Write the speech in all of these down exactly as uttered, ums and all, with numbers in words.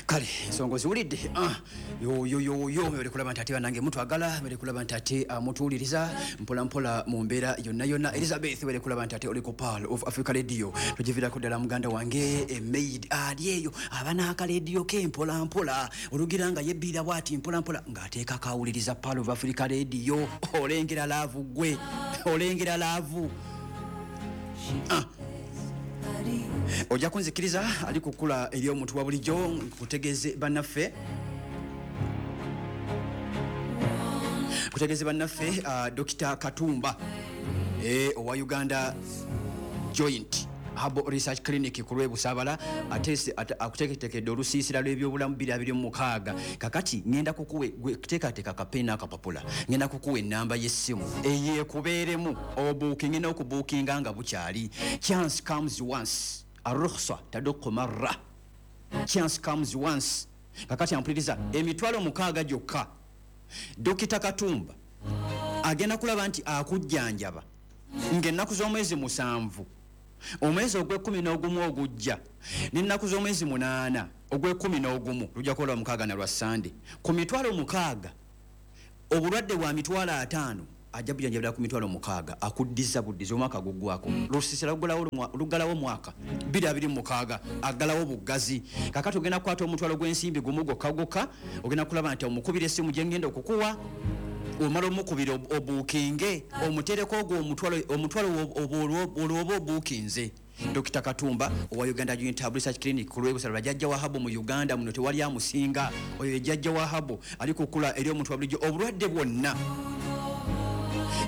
Kale ensonga oziwulidde. Ah, yoyoyoyo, mwebale kulaba nti ate banange mutwagala, mwebale kulaba nti ate ah, mutuwuliriza mpola mpola mu mbeera yonna yonna. Elizabeth, webale kulaba nti ate oli ku Pearl of Africa Radio, togiviirako ddala. Muganda wange emaid ali eyo aba n'akalediyo ke mpola mpola, olugira nga yebbirira bwati mpola mpola ng'ateekako awuliriza Pearl of Africa Radio. Olengera love gwe, olengera love. Ah. Ojja kunzikiriza ali kukula eri omuntu wa bulijjo nkutegeeze bannaffe, kutegeeze bannaffe uh, Dokita Katumba eh, owa Uganda Joint Herbal Research Clinic ku lw'Ebusabala ate akuteeketeekedde olusiisira lw'ebyobulamu bbiri abiri mu mukaaga. Kakati ngenda kukuwe gwe teekateeka kapeni n'akapapula, ngenda kukuwa ennamba y'essimu eyeekubeeremu obuukinge n'okubuukinga nga bukyali. Chance comes once, arukhsa taduku marra, chance comes once. Kakati ampuliriza, emitwalo mukaaga gyokka, Dokita Katumba agenda kulaba nti akujjanjaba ng'ennaku z'omwezi musanvu omwezi ogw'ekkumi n'ogumu ogujja n'ennaku z'omwezi munaana ogw'ekkumi n'ogumu, lujja kukola mukaaga na lwa Sande, ku mitwalo mukaaga. Obulwadde bwa mitwalo ataano ajja bujanjabira ku mitwalo mukaaga, akuddiza buddiza omwaka guggwako. Lusisira luggalawo mwaka bbiri abiri mu mukaaga, aggalawo buggazi. Kakati ogenda kukwata omutwalo gw'ensimbi gumu gwokka gwokka, ogenda kulaba nti omukubira essimu gye ngenda okukuwa, omala omukubira obuukinge, omutereko ogwo omutwalo, omutwalo olwo oba obuukinze Dokita Katumba owa Uganda Joint Research Clinic ku lw'Ebusala, jjajja wa herbal mu Uganda muno, tewali amusinga. Oyo ye jjajja wa herbal ali kukula eri omuntu wa bulijjo. Obulwadde bwonna,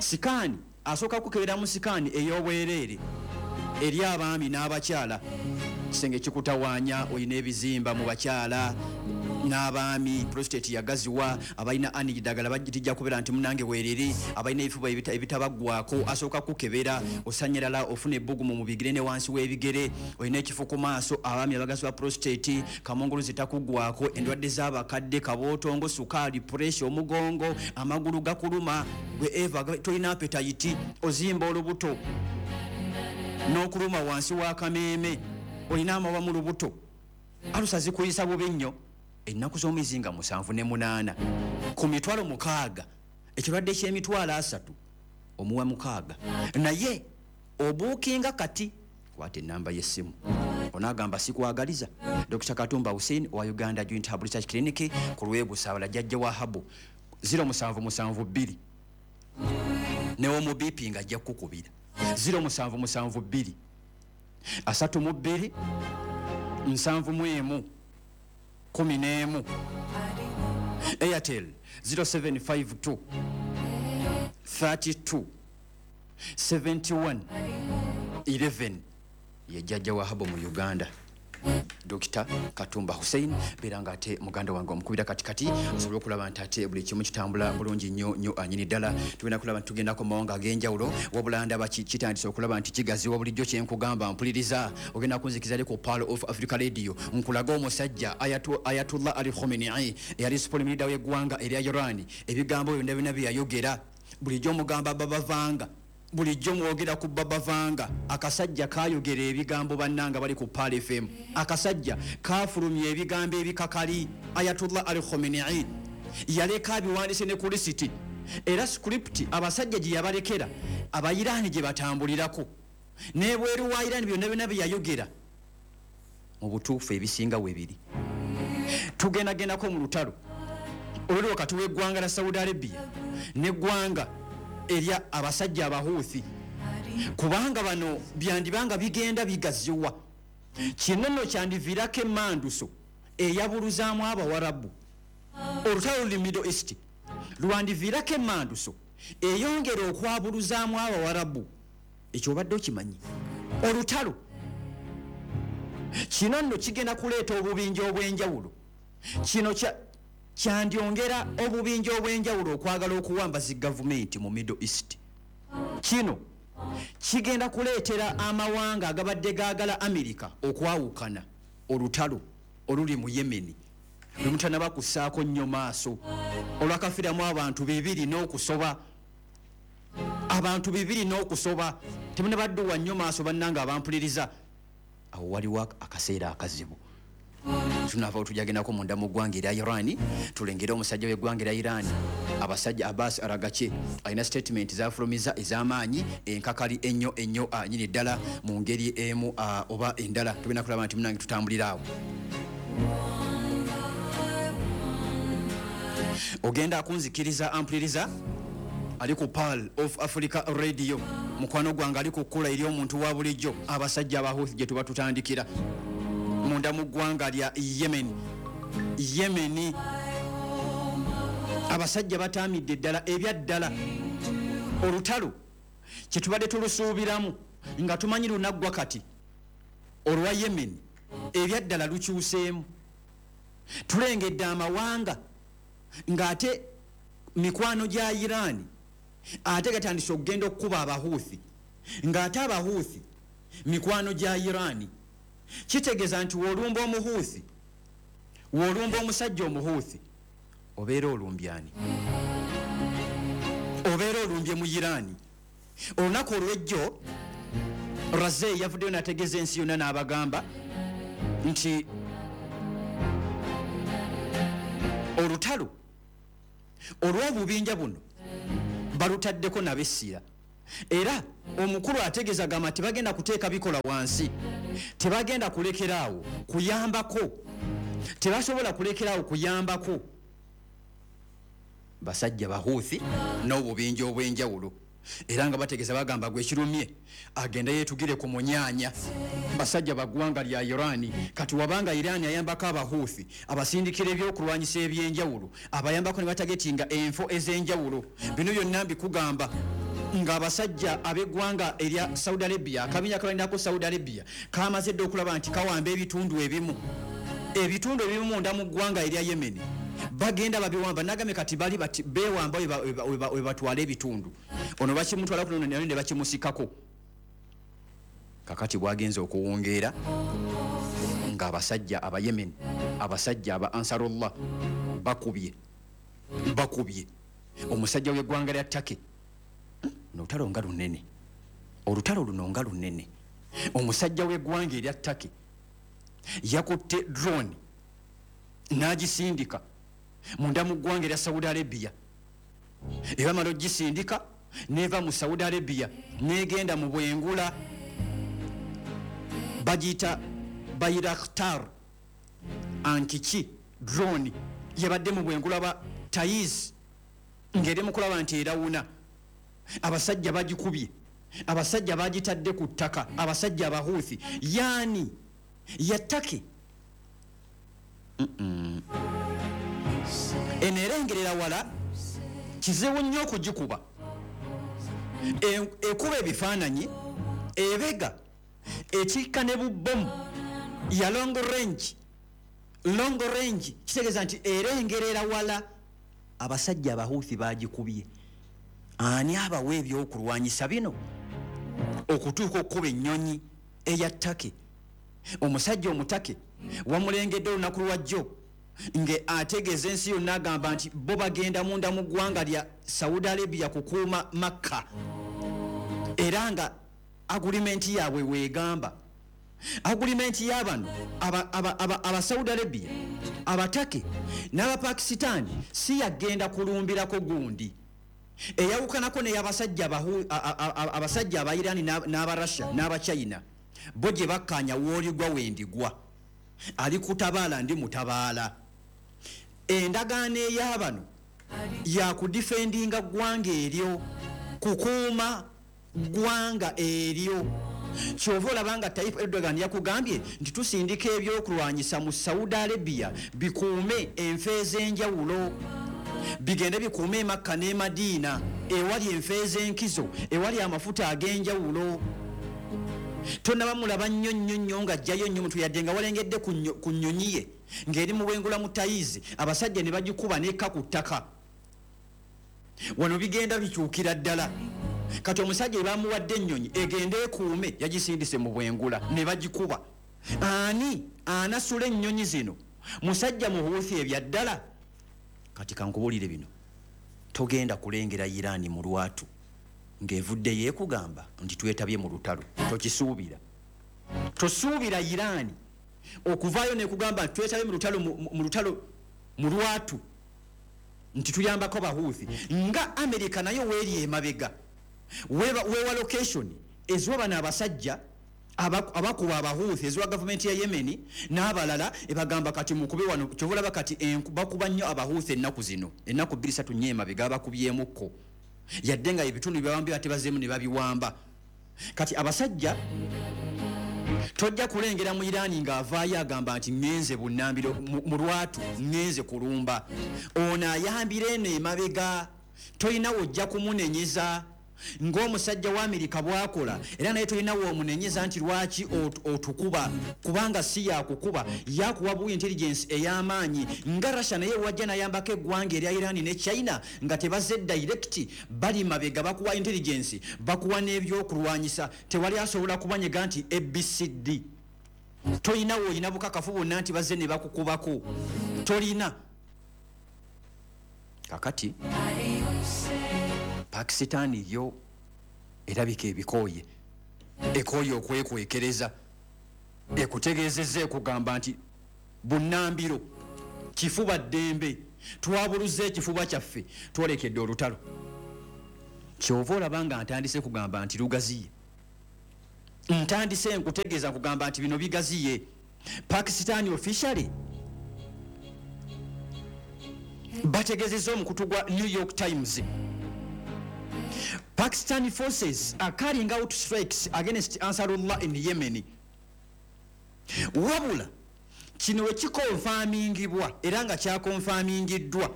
scan, asooka kukebera mu scan ey'obwereere eri abaami n'abakyala. Kisenge kikutawaanya, olina ebizimba mu bakyala n'abaami, prostate yagaziwa, abalina ani ddagala bajja kubeera nti munange weeriri, abalina ebifuba ebita- ebitabaggwako, asooka kukebera. Osanyalala, ofuna ebbugumu mu bigere ne wansi w'ebigere, olina ekifo ku maaso, abaami abagazi ba prostate, kamongolo zitakuggwako, endwadde z'abakadde, kabootongo, sukaali, pressure, omugongo, amagulu gakuluma, gwe eva tolina appetite, ozimba olubuto n'okuluma wansi w'akameeme, olina amabwa mu lubuto, alusa zikuyisa bubi nnyo, ennaku z'omwezi nga musanvu ne munaana ku mitwalo mukaaga. Ekirwadde ky'emitwalo asatu omuwa mukaaga, naye obuukinga kati. Kwata enamba y'essimu, onaagamba sikwagaliza. Dokita Katumba Hussein owa Uganda Joint Herbal Research Clinic ku lw'Ebusabala, jjajja wa herbal, zero musanvu musanvu bbiri, newomubipi nga ajja kukukubira zero musanvu musanvu bbiri asatu mu bbiri nsanvu mu emu kumi n'emu. Airtel zero seven five two thirty-two seventy-one eleven. Ye jjajja wa herbal mu Uganda, Dokita Katumba Hussein. Beera nga ate muganda wange omukubira katikati osobole okulaba nti ate buli kimu kitambula bulungi nnyo nnyo anyini ddala. Tugenda kulaba nti tugendako mu mawanga ag'enjawulo, wabula ndaba ki- kitandise okulaba nti kigaziwa. Bulijjo kyenkugamba, mpuliriza, ogenda kunzikiza ali ku Pearl of Africa Radio nkulaga omusajja Ayatu- Ayatullah Ali Khamenei eyali supreme leader w'eggwanga erya Iran. Ebigambo byonna byonna bye yayogera, bulijjo omugamba babavanga, bulijjo mwogera ku babavanga. Akasajja kayogera ebigambo, bannanga bali ku Pearl F M, akasajja kafulumya ebigambo ebikakali. Ayatullah Ali Khamenei yaleka abiwandise ne ku lisiti, era script abasajja gye yabalekera Abairaani gye batambulirako nebweru wa Iraani. Byonna byonna bye yayogera mu butuufu ebisinga webiri. Tugendagendako mu lutalo oluli wakati w'eggwanga la Saudi Arabia n'eggwanga erya abasajja Abahuuthi, kubanga bano byandibanga bigenda bigaziwa. Kino nno kyandiviirako emanduso eyabuluzaamu Abawarabu. Olutalo luli Middle East lwandiviirako emanduso eyongera okwabuluzaamu Abawarabu. Ekyo obadde okimanyi? Olutalo kino nno kigenda kuleeta obubinja obw'enjawulo. Kino kya kyandyongera obubinja obw'enjawulo okwagala okuwamba zi gavumenti mu Middle East. Kino kigenda kuleetera amawanga agabadde gaagala Amerika okwawukana. Olutalo oluli mu Yemeni lwe mutanaba kussaako nnyo maaso, olwakafiiramu abantu bibiri n'okusoba, abantu bibiri n'okusoba, temunabadduwa nnyo maaso. Bannanga abampuliriza, awo waliwo akaseera akazibu. Tunaava tujagendako munda mu ggwanga erya Iran, tulengere omusajja w'eggwanga erya Iran, abasajja Abbas Aragache alina statement zafulumiza ez'amaanyi enkakali ennyo ennyo nyini ddala mu ngeri emu oba endala. Tugenda kulaba nti munange tutambulira awo. Ogenda akunzikiriza ampuliriza ali ku Pearl of Africa Radio, mukwano gwange ali ku kkula eri omuntu wa bulijjo, abasajja abahuthi gye tuba tutandikira munda mu ggwanga lya Yemen. Yemeni abasajja bataamidde ddala ebya ddala. Olutalo kye tubadde tulusuubiramu nga tumanyi lunaggwa kati olwa Yemen ebya ddala lukyuseemu. Tulengedde amawanga ng'ate mikwano gya Iran ate gatandise okugenda okukuba abahuthi, ng'ate abahuthi mikwano gya Iran. Kitegeeza nti w'olumba omuhuthi, w'olumba omusajja omuhuthi, obeera olumbyani, obeera olumbye mu Iran. Olunaku olw'ejjo Razee yavuddeyo n'ategeeza ensi yonna n'abagamba nti olutalo olw'obubinja buno balutaddeko nabessira, era omukulu ategeeza gamba tebagenda kuteeka bikola wansi, tebagenda kulekeraawo kuyambako, tebasobola kulekeraawo kuyambako basajja bahuthi n'obubinja obw'enjawulo. Era nga bategeeza bagamba gwe kirumye agenda yeetugire ku munyaanya. Basajja baggwanga lya Iran. Kati wabanga Iran ayambako abahuthi, abasindikira ebyokulwanyisa ebyenjawulo, abayambako ne batagetinga enfo ez'enjawulo. Bino byonna mbikugamba ng'abasajja ab'eggwanga erya Saudi Arabia, akabinja kabalinako Saudi Arabia kamaze dda okulaba nti kawamba ebitundu ebimu, ebitundu ebimu munda mu ggwanga erya Yemen bagenda babiwamba. Nagame kati bali bati bewamba we batwala ebitundu, ono bakimutwala kuno ne bakimusikako. Kakati bwagenze okuwongeera ng'abasajja aba Yemen, abasajja aba Ansarullah bakubye bakubye omusajja w'eggwanga lya Turkey. Olutalo nga lunene, olutalo luno nga lunene. Omusajja w'eggwanga erya Turkey yakutte drone n'agisindika munda mu ggwanga erya Saudi Arabia. Ebamala ogisindika neva mu Saudi Arabia negenda mu bwengula, bagiyita Bayraktar Ankiki drone yabadde mu bwengula ba Taiz ng'eri mu kulaba nti erawuna. Abasajja bagikubye, abasajja bagitadde ku ttaka, abasajja abahuthi yaani ya Turkey. Eno erengerera wala, kizibu nnyo okugikuba. Ekuba ebifaananyi, ebega ekikka ne bubbomu ya long range. Long range kitegeeza nti erengerera wala. Abasajja abahuthi bagikubye. Ani abawa ebyokulwanyisa bino okutuuka okukuba ennyonyi eya Turkey? Omusajja omutake wamulengedde olunaku lwajjo nge ategeeza ensi yonna agamba nti bo bagenda munda mu ggwanga lya Saudi Arabia kukuuma Makka, era nga agulimenti yaabwe weegamba. Agulimenti y'abano aba, aba, aba, aba Saudi Arabia, abatake n'Abapakisitaani si yagenda kulumbirako gundi eyawukanako n'eyabasajja abasajja aba Iran n'Abarussia n'Abachina. Bo gye bakkaanya w'oligwa wendigwa, ali kutabaala ndi mutabaala. Endagaano ey'abano yakudifendinga ggwanga eryo, kukuuma ggwanga eryo. Kyova olaba nga Tayyip Erdogan yakugambye nti tusindika ebyokulwanyisa mu Saudi Arabia bikuume enfo ez'enjawulo, bigende bikuume e Makka n'e Madiina ewali enfo ez'enkizo, ewali amafuta ag'enjawulo. Tonnaba mulaba nnyo nnyo nnyo ng'ajjayo nnyo muntu yadde nga walengedde ku nnyonyi ye ng'eri mu bwengula mu Tayizi, abasajja ne bagikuba n'ekka ku ttaka. Wano bigenda bikyukira ddala. Kati omusajja bamuwadde ennyonyi egende ekuume, yagisindise mu bwengula ne bagikuba. Ani anasula ennyonyi zino? Musajja muhuuthi ebya ddala. Kati kankubuulire bino, togenda kulengera Iran mu lwatu ng'evudde yeekugamba nti twetabye mu lutalo. Tokisuubira, tosuubira Iran Okuvaayo nekugamba nti twetabe mu lutalo mu lutalo mu lwatu nti tuyambako Bahuthi, nga Amerika nayo weeri emabega wewa, wewa location eziwa bano abasajja abakuba Abahuthi, eziwa gavumenti ya Yemeni n'abalala, ebagamba kati mukube wano. Kyova olaba kati bakuba nnyo Abahuthi ennaku zino, ennaku bbiri ssatu nnya emabega bakubyemukko, yadde nga ebitundu byabawambye ate bazzeemu ne babiwamba. Kati abasajja tojja kulengera mu Irani ng'avaayo agamba nti ŋŋenze bunnambiro mu lwatu, ŋŋenze kulumba. Ono ayambira eno emabega, tolina w'ojja kumunenyeza ng'omusajja wa Amerika bw'akola, era naye tolina w'omunenyeza nti lwaki otukuba, kubanga si yakukuba, yakuwa bu intelligence ey'amaanyi. Nga Russia naye wajja nayambako eggwanga erya Irani ne China nga tebazze direct, bali mabega bakuwa intelligence, bakuwa n'ebyokulwanyisa, tewali asobola kubanyega nti A B C D. Tolina w'olina bukakafu bwonna nti bazze ne bakukubako, tolina. Kakati Pakisitani yo erabika ebikooye, ekooye okwekwekereza, ekutegeezezza ekugamba nti bunnambiro kifuba ddembe, twabuluza ekifuba kyaffe, twolekedde olutalo. Kyova olaba nga ntandise kugamba nti lugaziye, ntandise nkutegeeza nkugamba nti bino bigaziye. Pakisitani officially bategeezezza omukutu gwa New York Times, Pakistani forces are carrying out strikes against Ansarullah in Yemen. Wabula kino we kikonfamingibwa era nga kyakonfamingiddwa,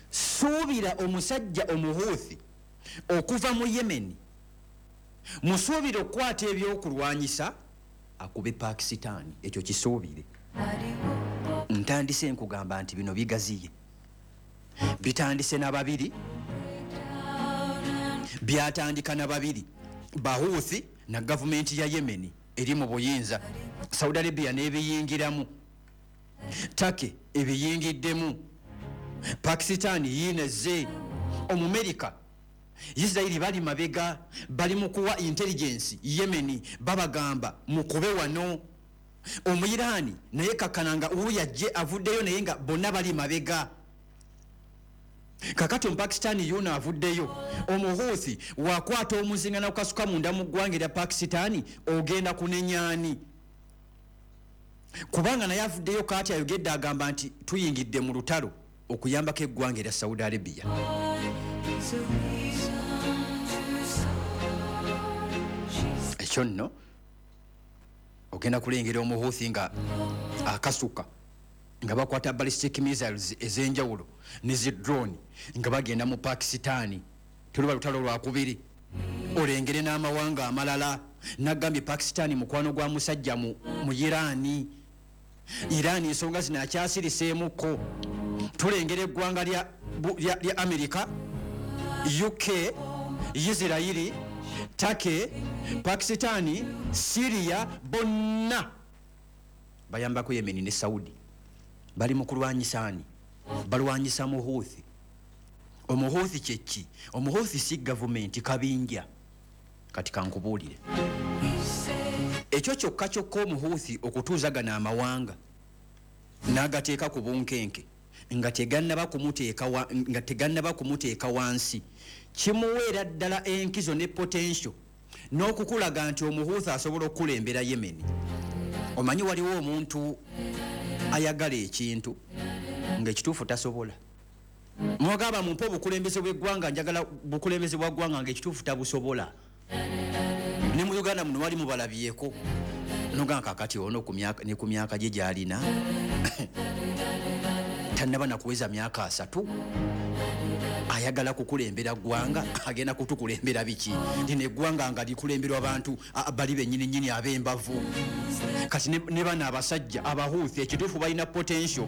suubira omusajja Omuhuthi okuva mu Yemen, musuubire okukwata ebyokulwanyisa akube Pakistani. Ekyo kisuubire. Ntandise nkugamba nti bino bigaziye, bitandise na babiri, byatandika na babiri, Bahuthi na gavumenti ya Yemeni eri mu buyinza, Saudi Arabia n'ebiyingiramu, Turkey ebiyingiddemu, Pakistani yiinezze, Omumerika, Israeli bali mabega, bali mu kuwa intelligence Yemeni, babagamba mukube wano. Omuyirani naye kakananga wuya ajje avuddeyo, naye nga bonna bali mabega. Kakati Omupakistani yuno avuddeyo, Omuhuthi wakwata omuzinga n'okukasuka munda mu ggwanga erya Pakistani, ogenda kunenyaani? Kubanga naye avuddeyo kaati ayogedde agamba nti tuyingidde mu lutalo okuyambako eggwanga erya Saudi Arabia. Ekyo nno ogenda kulengera Omuhuthi nga akasuka, nga bakwata ballistic missiles ez'enjawulo ne zi drone nga bagenda mu Pakistani. Tuluba lutalo lwakubiri, olengere n'amawanga amalala. Nagambye Pakistani mukwano gwa musajja mu, mu Irani. Irani ensonga zino akyasiriseemuko. Tulengera eggwanga lya, lya, lya Amerika, U K, Israeli, Turkey, Pakistani, Syria, bonna bayambako Yemeni ne Saudi. Bali mu kulwanyisa ani? Balwanyisa Muhuthi. Omuhuthi kyeki? Omuhuthi si gavumenti, kabinja. Kati kankubuulire ekyo kyokka kyokka Omuhuthi okutuuzagana amawanga n'agateeka ku bunkenke nga tegannaba kumuteeka wa, nga tegannaba kumuteeka wansi, kimuweera ddala enkizo ne potential n'okukulaga nti Omuhuthi asobola okukulembera Yemeni. Omanyi waliwo omuntu ayagala ekintu ng'ekituufu tasobola. Mwagamba mumpe obukulembeze bw'eggwanga, njagala bukulembeze bwa ggwanga ng'ekituufu tabusobola. Ne mu Uganda muno wali mubalabyeko, nogamba kakati ono ku myaka, ne ku myaka gye gy'alina tannaba na kuweza myaka asatu, ayagala kukulembera ggwanga, agenda kutukulembera biki? Lino eggwanga nga likulemberwa abantu bali bennyini nnyini ab'embavu. Kati ne bano abasajja Abahuthi ekituufu balina potential,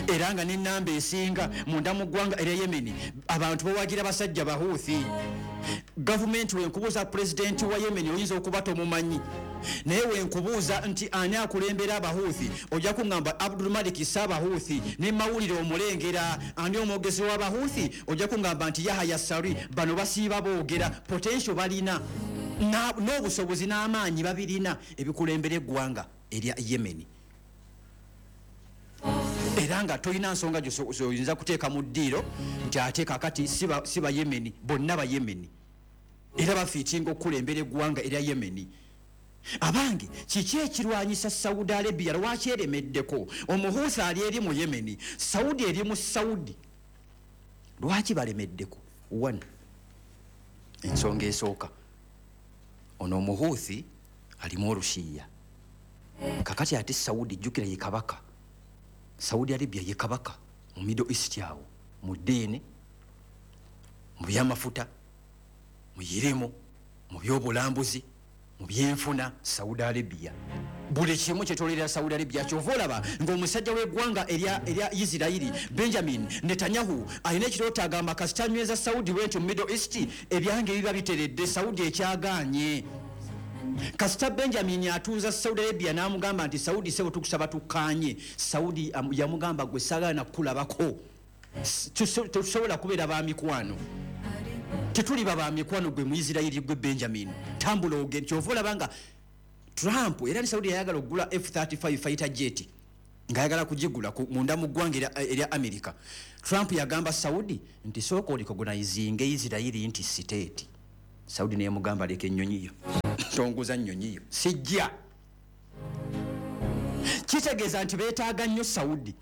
era nga n'ennamba esinga munda mu ggwanga erya Yemeni abantu bawagira basajja Bahuthi. Gavumenti wenkubuuza pulezidenti wa Yemeni oyinza okuba tomumanyi, naye wenkubuuza nti ani akulembera Abahuthi ojja kuŋŋamba Abdul Malik Saabahuthi, ne mawulire omulengera. Ani omwogezi w'Abahuthi ojja kuŋŋamba nti Yahya Sari. Bano basiiba boogera, potential balina. Na- n'obusobozi n'amaanyi babirina ebikulembera eggwanga erya Yemeni, era nga tolina nsonga gyoyinza kuteeka mu ddiiro nti ate kakati si ba- si Bayemeni bonna. Bayemeni era bafiitinga okukulembera eggwanga erya Yemeni. Abange, kiki ekirwanyisa Saudi Arabia? Lwaki eremeddeko? Omuhuusi ali eri mu Yemeni, Saudi eri mu Saudi, lwaki balemeddeko? One, ensonga esooka, ono omuhuuthi alimu Olushiya. Kakati ate Saudi, jjukira ye kabaka, Saudi Arabia ye kabaka mu Middle East awo, mu ddiini, mu byamafuta, mu yirimu, mu byobulambuzi, mu byenfuna. Saudi Arabia buli kimu kyetolera Saudi Arabia. Kyova olaba ng'omusajja w'eggwanga erya erya Isirairi, Benjamin Netanyahu, alina ekirooto, agamba kasita nyweza Saudi bwenti mu Middle East, ebyange biba biteredde. Saudi ekyaganye. Kasita Benjamin atuuza Saudi Arabia n'amugamba nti, "Saudi sebo, tukusaba tukkaanye," Saudi am- yamugamba, "Gwe saagala nakukulabako. S- tuso- tetusobola kubeera ba mikwano, tetuliba ba mikwano. Gwe Muisirairi, gwe Benjamin, tambula ogende." Kyova olaba nga Trump era ne Saudi yayagala okugula F thirty-five fighter jet, ng'ayagala kugigula ku- munda mu ggwanga erya- erya America. Trump yagamba Saudi nti, "Sooka orecognizinge Isirairi nti state." Saudi neyamugamba, "Leka ennyonyi yo, tonguza nnyonyi yo, sijja." Kitegeeza nti beetaaga nnyo Saudi.